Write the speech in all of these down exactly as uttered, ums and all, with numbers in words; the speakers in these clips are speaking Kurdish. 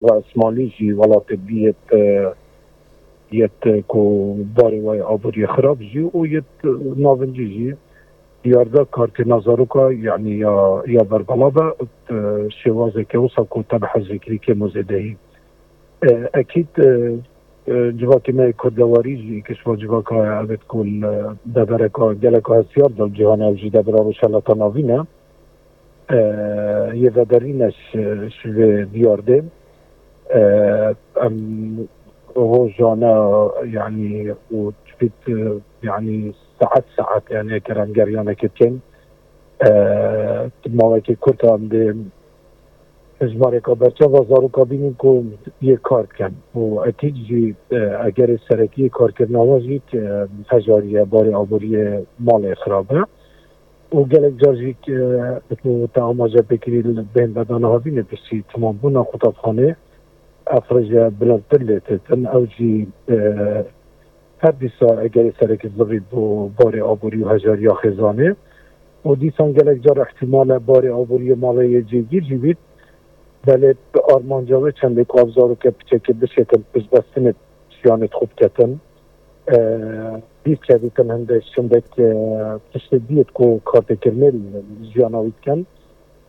Welatê Îsmaîlî jî welatê bî yet, e, yet, e, ku barê wê aboriyê xirab jî û yet, e, navincî jî diyar da karkirina zaroka, yanî ya, ya berbela be, e, şêwazeke wisa ku te bi hezrê kirî kêm û zêdehî. E, ekîd, e, e, civakê me yê kurdewarî jî, kişva civaka ev ku li devereka geleka hestiyar de cîhanê ew jî devera Rojhilata Navîn e. E, yê vederîne ji, ji vê diyardê. E, em rojane, yanî û çipît, e, yanî saet saet, yanî eger em geryanekê bikin, e, mawekê kurt em dê hejmareka berçava zaroka bînin ku yê kar dikin. Û ekîd jî, e, egerê serekî yê karkirina wan jî, e, hejariye, barê aboriyê malê xirab e. Û gelek car jî, e, ku te amaje pê kirî li bên vedana havînê piştî temambûna qutabxanê ev rêje bilindtir lê têtin. Ew jî, e, her dîsa egerê serekî zivî bo barê aborî û hejariya xêzanê. Û dîsan gelek car îhtîmal e barê aboriyê malê yê cêgîr jî bît. Belê bi armanca wê çendê ku ev zaroke piçekê bişêtin piştbestinê jiyanê xwe biketin. E, bîr çêdîtin hindek, hindek, e, tiştê diyet ku kartêkirinê li jiyana wî dikin.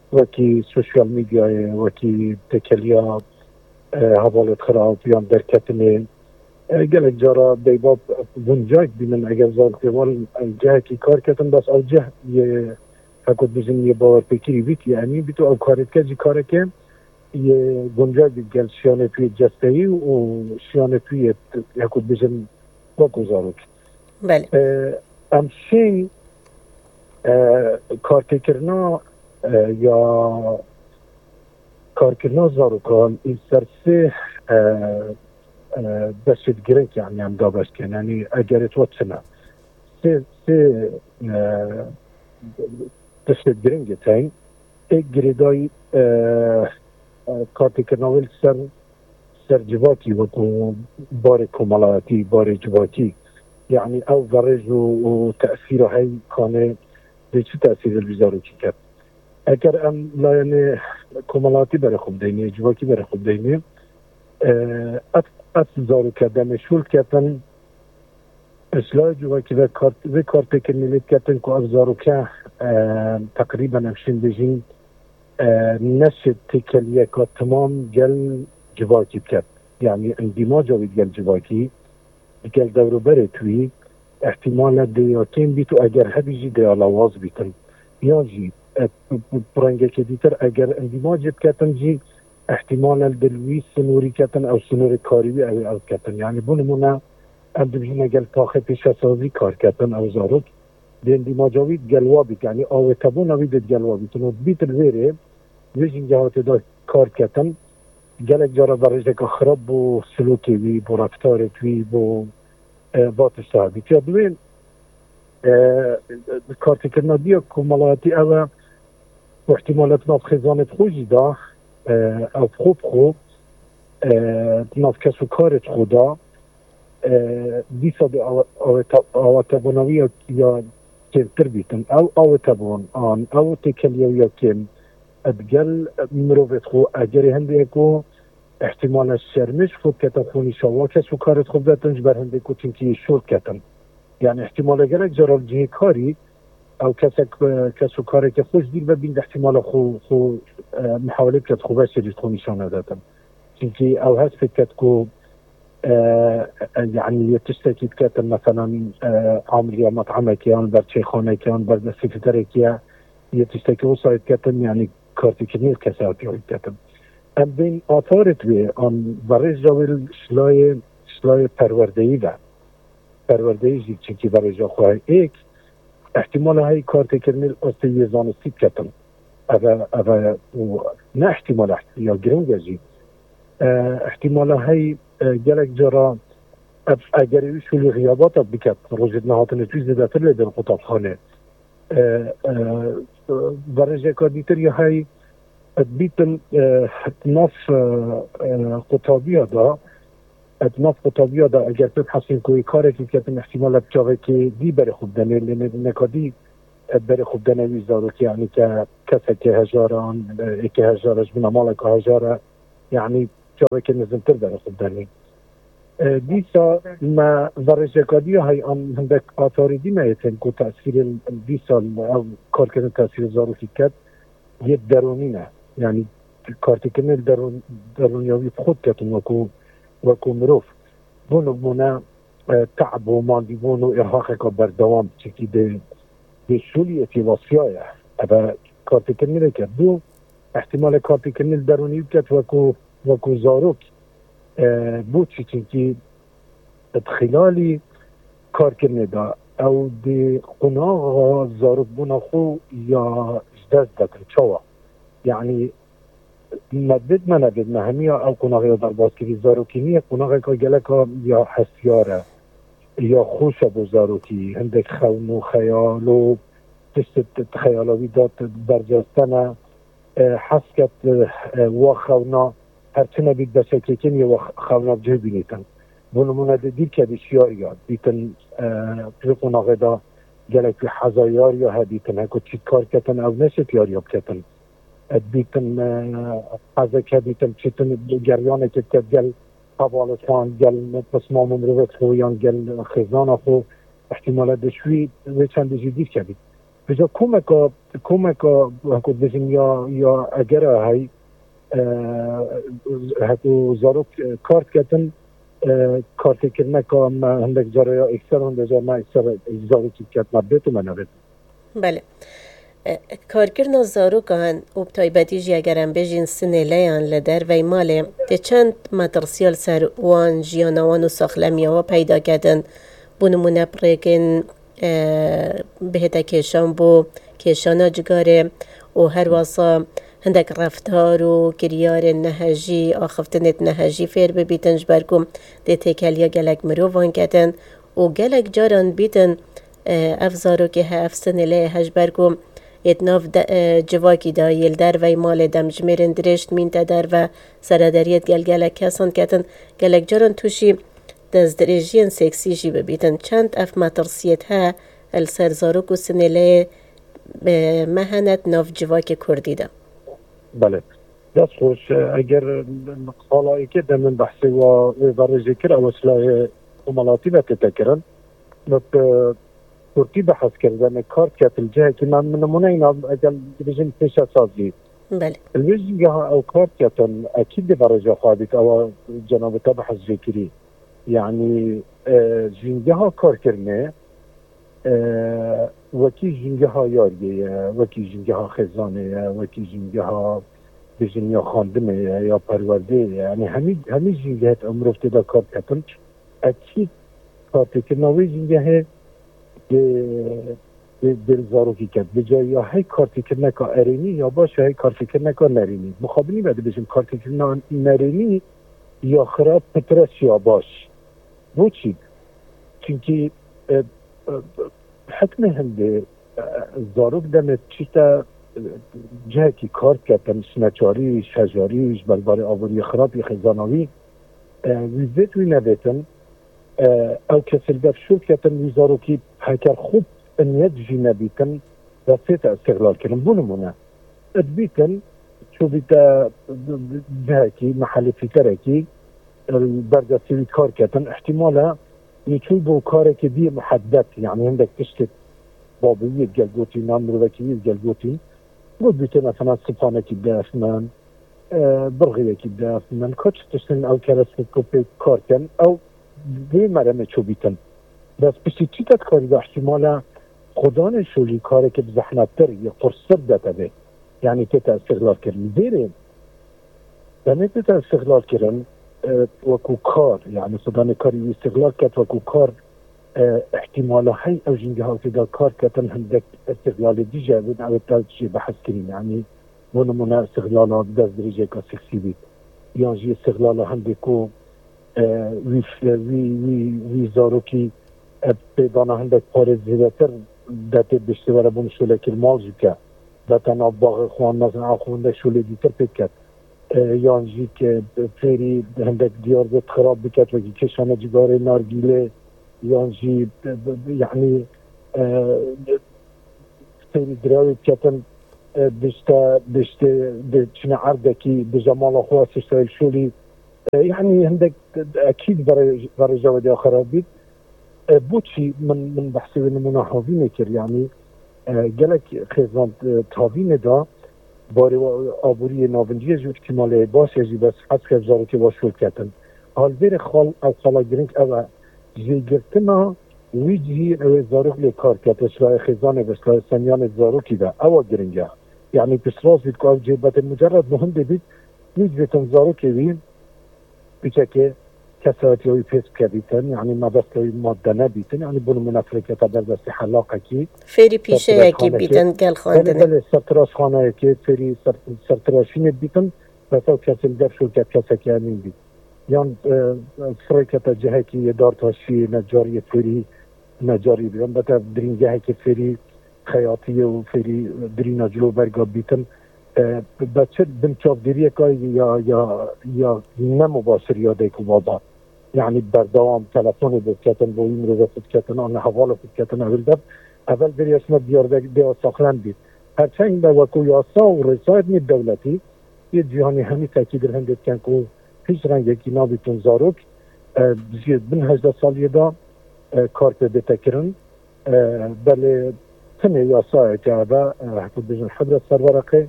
Wekî sosyal medyayê, wekî têkeliya, e, hevalêt xirab yan derketinê. E, gelek cara deyba guncayek bînin, eger zarokê wan, e, cihekî kar ketin, bes ew cih yê, heko dibêjin, yê bawerpêkirî bît, yê emîn bît û ew karê dike jî kareke yê guncay bît gel şiyanê pî yê cesteyî û şiyanê pî yê, heko dibêjin, weko zarok. Belê. E, em şîn, e, kartêkirina, e, ya karkirina zarokan li ser sê, e, e, beşê girêng, yanî em dabeş dikin. Yanî egerê tu çi ne? Sê, sê, e, tiştê girêngê tên. Ê girêdayî, e, e, kartêkirina wê li ser, ser civakî, wekû barê komelayetî, barê civakî. Yanî ew verêj û, û tesîra hey kanê dê çi tesîrê li zarokî ket? Eger em layenê komelayetî berê xwe bideyne, civakî berê xwe bideyne, e, ev, ev zaroke demê şûl ketin, ji layê civakî ve kart, vê kartêkirinê lê diketin ku ev zaroke, e, teqrîben em şên bêjin, e, neşê têkeliyeka timam gel civakî biket. Yanî endîmaca wî gel civakî, digel dewroberê tu yî, îhtîmal e dê ya kêm bît û eger hebî jî dê ya lawaz bîtin. Yan jî, e, bi, bi, bi rengekê dîtir eger endîmacê biketin jî, îhtîmal e li dil wî sinûrî ketin, ew sinûrê karî wî ew ê ew ketin. Yanî bo nimûne, em dibêjin gel taxê pêşesazî kar ketin ew zarok, dê endîmaca wî gel wa bît, yanî awêtebûna wî dê gel wa bît. Û bît li vêrê, vê jîngeha tê de kar ketin, gelek cara berêjeka xirab bo silokê wî, bo reftarê wî, bo, e, va tişta bît. Ya duwên, e, kartêkirina diya komelayetî ew e, û îhtîmal e di nav xêzanê xwe jî de, e, ew xwe bi xwe, e, di nav kes û karê xwe de, e, dîsa dê awe-, aweta-, awetebûna wî ya, ya kêmtir bîtin. Ew awetebûn an, ew têkeliya wî ya kêm, e, digel mirovê xwe, egerê hindê ku îhtîmal e şermê ji xwe biketin xwe nîşan, wa kes û karê xwe bidetin ji ber hindê ku çimkî şûl ketin. Yanî îhtîmal e gelek cara li cihê karî ew kesek, e, kes û kareke xwe ji dîr ve bîn de îhtîmal e xwe, xwe, e, mihawelê biket xwe veşêrî xwe nîşan nedetin. Çimkî ew hest pê diket ku, e, e, yanî yê tiştekî diketin, meselan, e, amiliya met'emekê yan ber çêxanekê yan ber destpêkirderekê ye, yê tiştekî wisa yê diketin, yanî kartêkirinê li kesayetiya wî diketin. Em bên atarê wê an verêja wê ji layê, ji layê perwerdeyî ve, perwerdeyî jî çimkî verêja xwe heye. Êk, îhtîmala heye kartêkirinê li astê yê zanistî biketin. Ev e, ev e, û ne îhtîmal e, ya girîng e jî. E, îhtîmala heye, e, gelek cara ev egerê wî şûlî xiyabata biket, rojê nehatinê wî zêdetir lê bên qutabxanê. E, e, verêjeka dîtir ya heye, dibîtin, e, di nav, e, e, qutabiya de, e, di nav qutabiya de eger pê bihesên ku wê karekî biketin, îhtîmal e bi çavekê dî berê xwe bidene, lê ne-, neka dî, e, berê xwe bidene wî zarokê, yanî ke keseke hejar an, e, êkê hejar e, ji bona maleka hejar e, yanî çaveke nizintir derxist derê. E, dîsa me verêjeka diya hey an hindek atarî dî me yê tên ku tesîrê dîsa ev karkirin tesîrê zarokî ket yê derûnî ne. Yanî kartêkirinê li derûn, derûniya wî bi xwe diketin wekû, wekû mirov. Bû nimûne, e, te'b û mandîbûn û îrhaqeka berdewam, çikî dê, dê şûlî etî wasiyaye. Eve kartêkirinê neket bû, ihtimale kartêkirinê li derûnî biket wekû, wekû zarok. E, Bo çi? Çinkî di xilalî karkirinê de ew dê qunaxa zarokbûna xwe ya ji dest detin. Çawa? Yanî me bêt me nebêt me hemiya ew qunaxê ya derbas kirî. Zarokî niye, qunaxeka geleka ya hestiyar e, ya xweş e bo zarokî. Hindek xewn û xeyal û tişt di xeyala wî de bercestene. E, hez ket, e, e, wa xewna her çi nebît beşekêkin yê wa xewna bi cih bînîtin. Bo nimûne di dîrke de şiyariya dîtin, e, di qonaxê de gelek wî hezayariya he dîtin, heko çît kar ketin ew neşêt yariya biketin. E, dîtin, e, hezek he dîtin çîtin geryanekê ket gel hevalê xwe, gel pismam û mirovê xwe yan gel xêzana xwe, ihtimale di şûî wê çendê jî dîrke bît. Vêca komeka, komeka, heko dibêjin ya, ya egera hey, e, heko zarok, e, kar diketin, e, kartêkirineka me hindek cara ya ekser, hindek cara me ekser zarokî diket me bêt û me nebêt. Belê. E, Karkirina zarokan û bi taybetî jî eger em bêjin sinêleyan li dervey malê tê çend metirsiya li ser wan, jiyana wan û saxlemiya wan peyda kedin. Bo nimûne bi rêkin, e, bihête kêşan bo kêşana cigarê û her wasa hindek reftar û kiryarên nehejî, axiftinêt nehejî fêr bibîtin, ji ber ku dê têkeliya gelek mirovan kedin û gelek caran bîtin, e, ev zarokê he, ev sinêleyê he, ji ber ku yê di nav de, e, civakî de, yê li dervey malê demjimêrên dirêj dimînte derve, serederiyê digel gelek kesan ketin, gelek caran tûşî destdirêjiyên seksî jî bibîtin. Çend ev metirsiyêt he li ser zarok û sinêleyê, e, me hene di nav civakê kurdî de? Belê. Dest xweş. Eger qala êkê de min behsê wa wê verê jê kir, ew ji layê komelatî ve tête kirin. Min bi kurtî behs kir, demê kar diketin cihekî me, min nimûne îna eger dibêjin pêşesazî. Belê. Li vê jîngeha ew kar diketin, ekîd dê verêja xwe bît, ewa cenabê te behs jê kirî. Yanî, e, jîngeha karkirinê, e, wekî jîngeha yariyê ye, wekî jîngeha xêzanê ye, wekî jîngeha bêjin ya xwendinê ye, ya perwerdeyê ye. Yanî hemî, hemî jîngehê ew mirov tê de kar diketin. Ekîd kartêkirina wê jîngehê dê, dê, dê li zarokî ket. Vêca ya hey kartêkirineka erênî ya baş ya hey kartêkirineka nerênî. Mixabinî me dibêjin kartêkirina nerênî ya xirab pitir e ya baş. Bo çî? Çimkî, e, e, hikmê hindê, e, zarok demê çîte, e, cihekî kar diketin, ji neçarî, ji hejarî, ji ber barê aboriyê xirab yê xêzana wî, e, wî vêt wî nevêtin, e, ew kesê li ber şûr ketin, wî zarokî heker xwe bi niyet jî nebîtin, destê te îstixlal kirin. Bo nimûne, dibîtin, çûbîte cihekî, mehelê fîterekî, li ber destê wî kar ketin, îhtîmal e, wî çûyî bo karekê dî muhedded, yanî hindek tiştê babê wî digel gotî, nan mirovekî wî digel gotî, got bîte mesela siphanekî def min, e, birxiyekî def min, ka çi tiştin ew kerestê ku pê kar ken, ew vê meremê çûbîtin. Bes piştî çî te dikarî de îhtîmal e, xudanê şolî karekê bi zehmettir, yê qurstir de te bê. Yanî tê te îstixlal kirin. Dêrê demê tê te îstixlal kirin, e, wekû kar, yanî xudanê karî wî îstixlal ket wekû kar, e, îhtîmala hey ew jîngeha tê de kar ketin hindek îstixlalê dî jî hebin, ew ê te jê behs kirîn. Yanî bo nimûne îstixlala destdirêjeka seksî bît. Yan jî îstixlala hindê ku, e, wî, wî, wî, wî zarokî, e, pêdana hindek parê zêdetir de tê biştê were bo min şolekî li mal jî bike. De te nav baxê xwe an mezin a xwe hindek şolê dîtir pê diket. E, yan jî ke fêrî hindek diyar bêt xirab biket, wekî kêşana cigarê, nargîlê, yan jî, e, yanî, e, fêrî dirawê diketin, e, bişte, biştê, bi çine erdekî, bije mala xwe, siştayê şolî, E, yanî hindek ekîd verê, verêja wê diya xerab bît. E, boçî min, min behsê wê nimûna havînê kir, yanî, e, gelek xêzan, e, tavînê da, barê wa-, aboriyê navinciyê jî îhtîmalê baş e jî, bes hez kev zarokê wa şûl ketin. Alvêrê xal, ew xala girîng ew e, jêgirtina wî cihî ew ê zarok lê kar kete, şirayê xêzanê ve, şirayê semiyanê zarokî de, ewa girîng e. Yanî piştrast bît ku ew cêbetê mucerred muhim bît, wî civêtin zarokê wî, piçekê kesayetiya wî pês bikevîtin, yanî mebesta wî madde nebîtin, yanî bo nimûne firêketa ber destê helaqekî, Fêrî pîşeyekî sertiraşxanekê, bîtin gel belê, xwendinê. Belê, sertiraşxaneyekê, fêrî ser-, sertiraşînê bîtin, bes ew kesê li dev şûl ket, kesekî emîn bît. Yan, e, firêketa cihekî yê dartaşî, necariyê fêrî, necarî bî. Elbete girîngehekê fêrî xeyatiyê û fêrî dirîna ciloberga bîtin. E, be çi bin çavdêriyeka ya, ya, ya ne mubaşir ya dayk û baba. Yanî berdewam telefonê biketin, bo wî mirovê xwe biketin, an hevalê xwe biketin, ew li dev. Evel vêrî ya ji me diyar de, dêya saxlem bît. Herçend be wekû yasa û rêzayê nêv dewletî yê cîhanê hemî tekîd li hindê dikin ku hîç rengekî nabîtin zarok, e, ji bin hejdeh saliyê de, e, kar pê bête kirin. E, belê tenê yasayeke eve, e, heta bêjin hebre serwereqê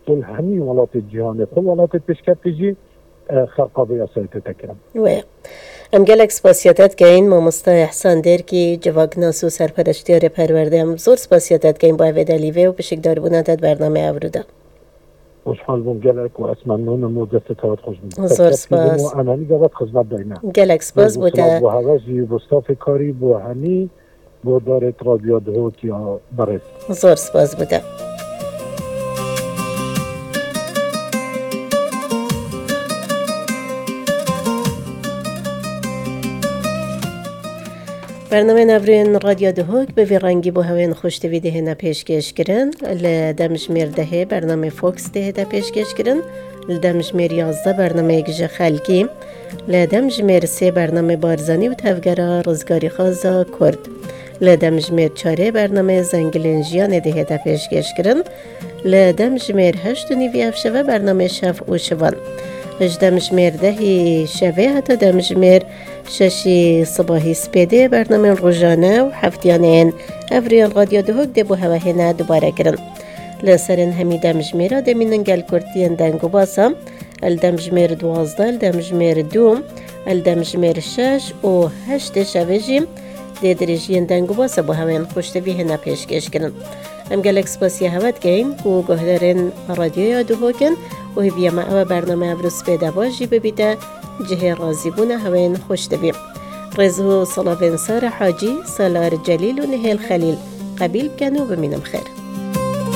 û li hemî welatê cîhanê, xwe welatê pêşkeftî jî, e, xerqa vê yasayê tête kirin. Wê. Em gelek spasiya te dikeyin, mamosta Îhsan Dêrkî, civaknas û serpereştiyarê perwerde. Em zor spasiya te dikeyin bo evê delîvê û pişikdarbûna te di bernamê ewro de. Xweşhal bûm gelek û ez memnûn im û destê te hat xweş bûm. Zor spas. Û em hemî gavat xizmet dayne. Gelek spas bo te. Bo hewe jî, bo stafê karî, bo hemî, bo darê Radyo Duhok ya berêz. Zor spas bo te. Bernameyên evrên Radyo Duhok bi vî rengî bo hewên xweş tivî dihêne pêşkêşkirin. Li demjimêr dehê bernamê Fox dihête pêşkêşkirin. Li demjimêr yazdeh bernameyek ji xelkî. Li demjimêr sê bernamê Barzanî û tevgera rizgarîxwaza Kurd. Li demjimêr çarê bernamê Zengilên Jiyanê dihête pêşkêşkirin. Li demjimêr heşt û nîvî ev şeve bernamê Şev û Şivan. Ji demjimêr dehî şevê heta demjimêr şeşî sibahî spêdê bernamên rojane û heftiyanê yên evrên Radyo Duhok dê bo hewe hêne dubare kirin. Li serên hemî demjimêra dê mînin gel kurtiyên deng û basa, li demjimêr duwazdeh, li demjimêr du, li demjimêr şeş û heştê şevê jî dê dirêjiyên deng û basa bo hewên xweş tivî hêne pêşkêşkirin. Em gelek spasiya hewe dikeyin ku guhdarên Radyoya Duhok in û hêviya me ew e bername evro spêde baş jî bibîte cihê razîbûna hewên xweş tivî. Rêz û salavên Sare Hacî, Salar Celîl û Nihêl Xelîl qebîl bikin û bimînin bi xêr.